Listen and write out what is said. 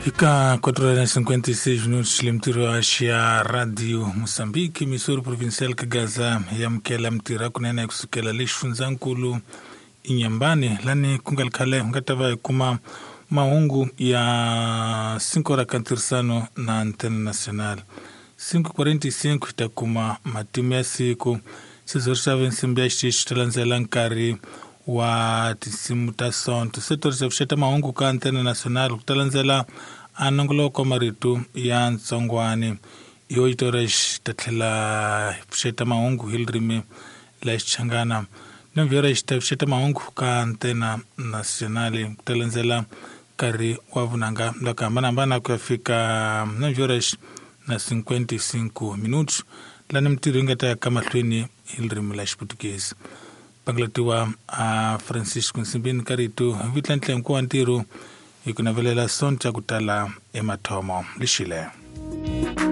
Eka 4:56 minutos le mitirho ya Radio Moçambique, Missouri Provincial ka Gaza ya amukela mitirho ya kunene kusukela le xifundzankulu Inyambani lani ku nga ri khale nga ta va hi kuma mahungu ya 5 hora ka ntirhisano na Antena Nacional. 5:45 hi ta kuma matimu ya siku. Sizori xa nsimbi ya xixi ta landzela nkarhi wa tinsimu ta sonto. Setori xa pfuxeta mahungu ka Antena Nacional ku ta landzela a nongoloko wa marito ya ntsongwani. Yo yitora ta tlhela pfuxeta mahungu hi ririmi la Xichangana. Novhera xi ta pfuxeta mahungu ka Antena Nacional ku ta landzela nkarhi wa vunanga la ku hambanahambana ku ya fika novhera na 55 minutos lani mitirho yi nga ta ya ka mahlweni hi ririmi la Xiputukezi. Pangulatiwa a Francisco Nsimbini ka rito hi vitlantlhenku wa ntirho hi ku navelela sonto ya ku tala emathomo lexile.